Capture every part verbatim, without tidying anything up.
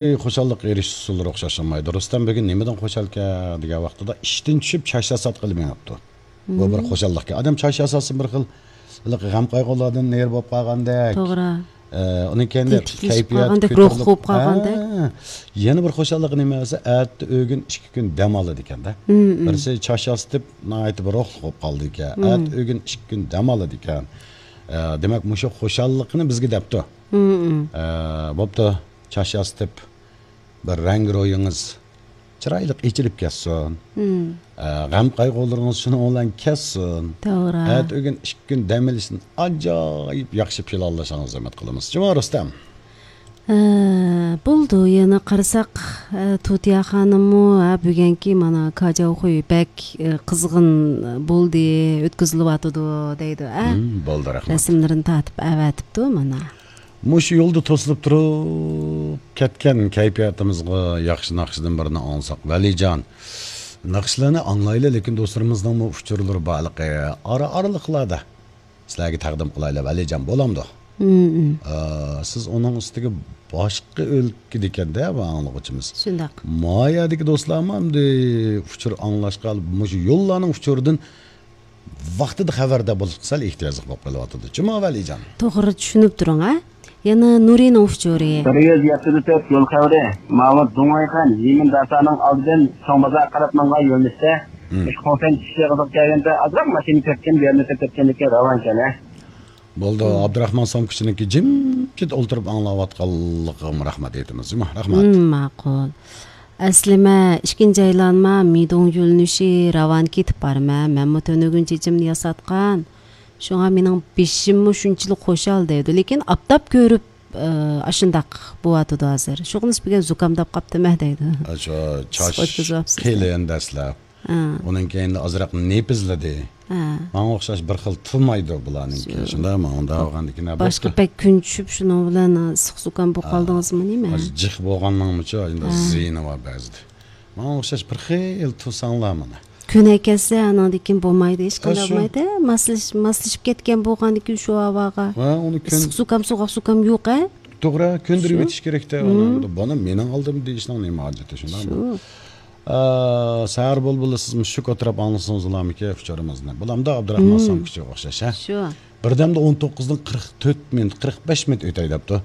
خۇشاللىققا ئېرىشىش ئۇسۇللىرى ئوخشاش بولمايدۇ. رۇستەم بۈگۈن نېمىدىن خۇشالكەن دېگەن ۋاقتىدا ئىشتىن چۈشۈپ چاچ ياساتقىلى مېڭىپتۇ. بۇ بىر خۇشاللىقكەن. ئادەم چاچ ياساتسا بىر خىل ھېلىقى غەم-قايغۇلاردىن نېرى بولۇپ قالغاندەك. توغرا. ئە، ئۇنىڭ كەينىدە تېتىكلىشىپ كەيپىيات قالغاندەك، روھ كۆتۈرۈلۈپ، قوپۇپ قالغاندەك. ھە. يەنە بىر خۇشاللىقى نېمە دېسە، ئەتە ئۆگۈن ئىككى كۈن دەم ئالىدىكەن-دە. بىرسى چاچ ياسىتىپ، ناھايىتى بىر روھلۇق بولۇپ قالىدىكەن. ئەتە ئۆگۈن ئىككى كۈن دەم ئالىدىكەن. ئە، دېمەك، مۇشۇ خۇشاللىقنى بىزگە دەپتۇ. ئە، بوپتۇ، چاچ ياسىتىپ، بىر رەڭگى روھىڭىز چىرايلىق ئېچىلىپ كەتسۇن. ئە، غەم-قايغۇلىرىڭىز شۇنىڭ بىلەن كەتسۇن. توغرا. ئەتە ئۆگۈن ئىككى كۈن دەم ئېلىشتىن ئاجايىپ ياخشى پىلانلىشىڭىزنى ئۈمىد قىلىمىز. جۇمۇ رۇستەم. ئە، بولدى، يەنە قارىساق، ئە، تۇتىيا خانىممۇ، ھە، بۈگۈنكى مانا كاجاۋخۇي بەك، ئە، قىزغىن بولدى، ئۆتكۈزۈلۈۋاتىدۇ دەيدۇ، ئە. بولدى، رەھمەت. رەسىملىرىنى تارتىپ ئەۋەتىپتۇ مانا. مۇشۇ يولدا توسۇلۇپ تۇرۇپ كەتكەن كەيپىياتىمىزغا ياخشى ناخشىدىن بىرنى ئاڭلىساق، ۋەلىجان. ناخشىلارنى ئاڭلايلى، لېكىن دوستلىرىمىزنىڭمۇ ئۇچۇرلىرى بارلىقى ئارا-ئارىلىقلاردا سىلەرگە تەقدىم قىلايلى، ۋەلىجان، بولامدۇ؟ ئا، سىز ئۇنىڭ ئۈستىگە باشقا ئۆلكىدىكەن-دە بۇ ئاڭلىغۇچىمىز. شۇنداق. ما يەردىكى دوستلارمۇ ئەمدى ئۇچۇر ئاڭلاشقا، مۇشۇ يوللارنىڭ ئۇچۇرىدىن ۋاقتىدا خەۋەردار بولۇشقا سەل ئېھتىياجلىق بولۇپ قېلىۋاتىدۇ. جۇمۇ ۋەلىجان. توغرا چۈشىنىپ تۇرۇڭ، ھە؟ يەنە نۇرىنىڭ ئۇچۇرى. بىر يۈز يەتتە تۆت يول خەۋىرى. ماۋۇ دۇڭۋەيخەن يىمىن داسانىڭ ئالدىدىن چوڭ بازار قاراپ ماڭغان يۆنىلىشتە، مۇشۇ خۇڭفەن چىقىش ئېغىزىغا كەلگەندە ئازراق ماشىنا كەتكەن، بۇ يەرنى تۆتەپ كەتكەندىكىن راۋانكەن، ھە؟ بولدى، ئابدۇراخمان سومكىچىنىڭكى جىمجىت ئولتۇرۇپ ئاڭلاۋاتقانلىقىغىمۇ رەھمەت ئېيتىمىز، جۇمۇ. رەھمەت. ماقۇل. ئەسلىمە، ئىككىنچى ئايلانما مىدوڭ يۆنىلىشى راۋان كېتىپ بارىمەن. مەنمۇ تۈنۈگۈن چېچىمنى ياساتقان. شۇڭا مېنىڭ بېشىممۇ شۇنچىلىك خۇشال دەيدۇ. لېكىن ئاپتاپ كۆرۈپ، ئاشۇنداق بولۇۋاتىدۇ ھازىر. شۇغىنىسى بۈگۈن زۇكامداپ قاپتىمەن دەيدۇ. شۇ چاچ قېلىن دەسلەپ. ئۇنىڭ كەينىدە ئازراق نېپىزلىدى. ماڭا ئوخشاش بىر خىل تىلمايدۇ بۇلارنىڭكى. شۇنداق ماڭا ئۇنداق بولغاندىكىن باشقا بەك كۈن چۈشۈپ، شۇنىڭ بىلەن ئىسسىق زۇكام بولۇپ قالدىڭىزمۇ نېمە؟ جىق بولغاننىڭمۇچۇ ئەمدى زىيىنى بار بەزىدە. ماڭا ئوخشاش بىر خىل تۇرساڭلار مانا. كۆنەي كەتسە، ئاناندىن كېيىن بولمايدۇ، ھېچقانداق بولمايدۇ. ماسلىشىپ كەتكەن بولغاندىن كېيىن شۇ ھاۋاغا ئىسسىق زۇكام، سوغۇق زۇكام يوق، ھە؟ توغرا، كۆندۈرۈۋېتىش كېرەكتە. بۇنى مېنىڭ ئالدىمدا دېيىشنىڭ نېمە ھاجىتى، شۇنداقمۇ؟ سەھەر بۇلبۇلى، سىزمۇ شۇ ئولتۇرۇپ ئاڭلىسىڭىزلارمىكىن ئۇچۇرىمىزنى. بۇلامدا ئابدۇراخمان سامكىچىغا ئوخشاش، ھە؟ بىردەمدە ئون توققۇزدىن قىرىق تۆت مىنۇت، قىرىق بەش مىنۇت ئۆتەي دەپتۇ.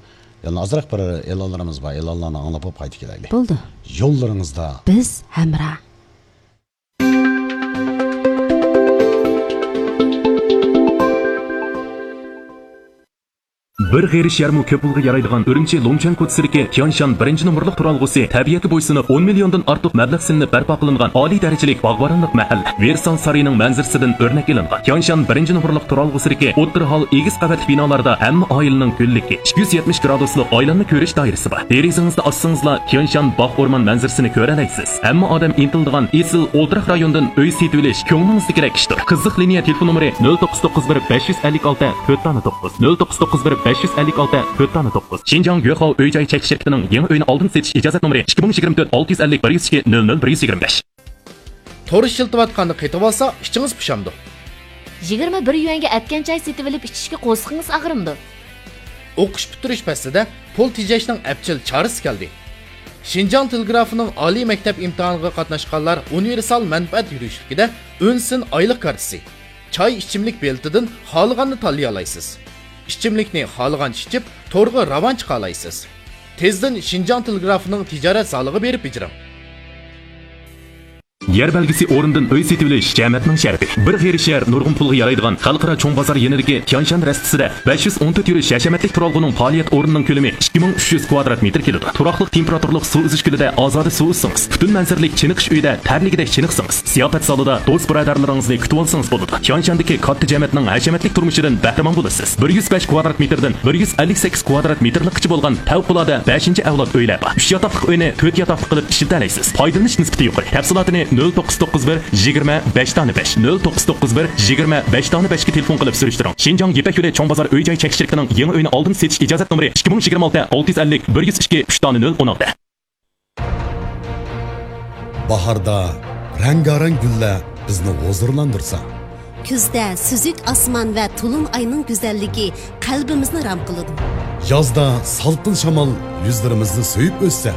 يەنە ئازراق بىر ئېلانلىرىمىز بار، ئېلانلارنى ئاڭلاپ بولۇپ قايتىپ كېلەيلى. بولدى. يوللىرىڭىزدا بىز ھەمراھ. بىر غېرىش يەرمۇ كۆپ پۇلغا يارايدىغان ئۈرۈمچى لۇڭچۈەن كوچىسىدىكى تيانشان بىرىنچى نومۇرلۇق تۇرالغۇسى تەبىئەتكە بويسۇنۇپ، ئون مىليوندىن ئارتۇق مەبلەغ سېلىنىپ بەرپا قىلىنغان ئالىي دەرىجىلىك باغۋەنلىق مەھەللە. ۋېرسال سارىيىنىڭ مەنزىرىسىدىن ئۆرنەك ئېلىنغان. تيانشان بىرىنچى نومۇرلۇق تۇرالغۇسىدىكى ئوتتۇرا ھال ئېگىز قەۋەتلىك بىنالاردا ھەممە ئائىلىنىڭ گۈللۈكى، ئىككى يۈز يەتمىش گرادۇسلۇق ئايلانما كۆرۈش دائىرىسى بار. دېرىزىڭىزنى ئاچسىڭىزلا، تيانشان باغ ئورمان مەنزىرىسىنى كۆرەلەيسىز. ھەممە ئادەم ئىنتىلىدىغان ئېسىل ئولتۇراق رايوندىن ئۆي سېتىۋېلىش كۆڭلىڭىزدىكىدەك ئىشتۇر. قىزىق لىنىيە تېلېفون نومۇرى: نۆل توققۇز توققۇز بىر بەش يۈز ئەللىك ئالتە تۆت دانە توققۇز، نۆل توققۇز توققۇز بىر بەش يۈز ئەللىك ئالتە تۆت دانە توققۇز. شىنجاڭ گۆخاۋ ئۆي جاي چەكلىك شىركىتىنىڭ يېڭى ئۆينى ئالدىن سېتىش ئىجازەت نومۇرى: ئىككى مىڭ يىگىرمە تۆت، ئالتە يۈز ئەللىك، بىر يۈز ئىككى، نۆل نۆل، بىر يۈز يىگىرمە بەش. تور ئىشلىتىۋاتقاندا قېتىۋالسا، ئىچىڭىز پۇشامدۇ؟ يىگىرمە بىر يۈەنگە ئەتكەن چاي سېتىۋېلىپ ئىچىشكە قورسىقىڭىز ئاغرىمدۇ؟ ئوقۇش پۈتتۈرۈش پەسلىدە پۇل تېجەشنىڭ ئەپچىل چارىسى كەلدى. شىنجاڭ تېلېگرافىنىڭ ئالىي مەكتەپ ئىمتىھانىغا قاتناشقانلار ئۇنىۋېرسال مەنپەئەت يۈرۈشلۈكىدە ئۈن سىن ئايلىق كارتىسى، چاي ئىچىملىك بېلىتىدىن خالىغاننى تاللىيالايسىز. ئىچىملىكنى خالىغانچە ئىچىپ، تورغا راۋان چىقالايسىز. تېزدىن شىنجاڭ تېلېگرافىنىڭ تىجارەت زالىغا بېرىپ بېجىرىڭ. يەر بەلگىسى ئورنىدىن ئۆي سېتىۋېلىش جەمەتنىڭ شەرىپى. بىر غېرىش يەر نۇرغۇن پۇلغا يارايدىغان خەلقئارا چوڭ بازار يېنىدىكى تيانشان رەستىسىدە بەش يۈز ئون تۆت يۈرۈش ھەشەمەتلىك تۇرالغۇنىڭ پائالىيەت ئورنىنىڭ كۆلىمى ئىككى مىڭ ئۈچ يۈز كۋادرات مېتىر كېلىدۇ. تۇراقلىق تېمپېراتۇرىلىق سۇ ئۈزۈش كۆلىدە ئازادە سۇ ئۈزسىڭىز، پۈتۈن مەنزىرىلىك چېنىقىش ئۆيىدە تەرلىگۈدەك چېنىقسىڭىز، زىياپەت زالىدا دوست-بۇرادەرلىرىڭىزنى كۈتۈۋالسىڭىز بولىدۇ. تيانشاندىكى كاتتا جەمەتنىڭ ھەشەمەتلىك تۇرمۇشىدىن بەھرىمەن بولىسىز. بىر يۈز بەش كۋادرات مېتىردىن بىر يۈز ئەللىك سەككىز كۋادرات مېتىرلىققىچە بولغان پەۋقۇلئاددە بەشىنچى ئەۋلاد ئۆيلەر بار. ئۈچ ياتاقلىق ئۆينى تۆت ياتاقلىق قىلىپ ئىشلىتەلەيسىز. پايدىلىنىش نىسبىتى يۇقىرى. تەپسىلاتىنى نۆل توققۇز توققۇز بىر يىگىرمە بەش دانە بەش، نۆل توققۇز توققۇز بىر يىگىرمە بەش دانە بەشكە تېلېفون قىلىپ سۈرۈشتۈرۈڭ. شىنجاڭ يىپەك يولى چوڭ بازار ئۆي جاي چەكلىك شىركىتىنىڭ يېڭى ئۆينى ئالدىن سېتىش ئىجازەت نومۇرى ئىككى مىڭ يىگىرمە ئالتە، ئالتە يۈز ئەللىك، بىر يۈز ئىككى، ئۈچ دانە نۆل، ئون ئالتە. باھاردا رەڭگارەڭ گۈللەر بىزنى ھۇزۇرلاندۇرسا، كۈزدە سۈزۈك ئاسمان ۋە تولۇن ئاينىڭ گۈزەللىكى قەلبىمىزنى رام قىلىدۇ. يازدا سالقىن شامال يۈزلىرىمىزنى سۆيۈپ ئۆتسە،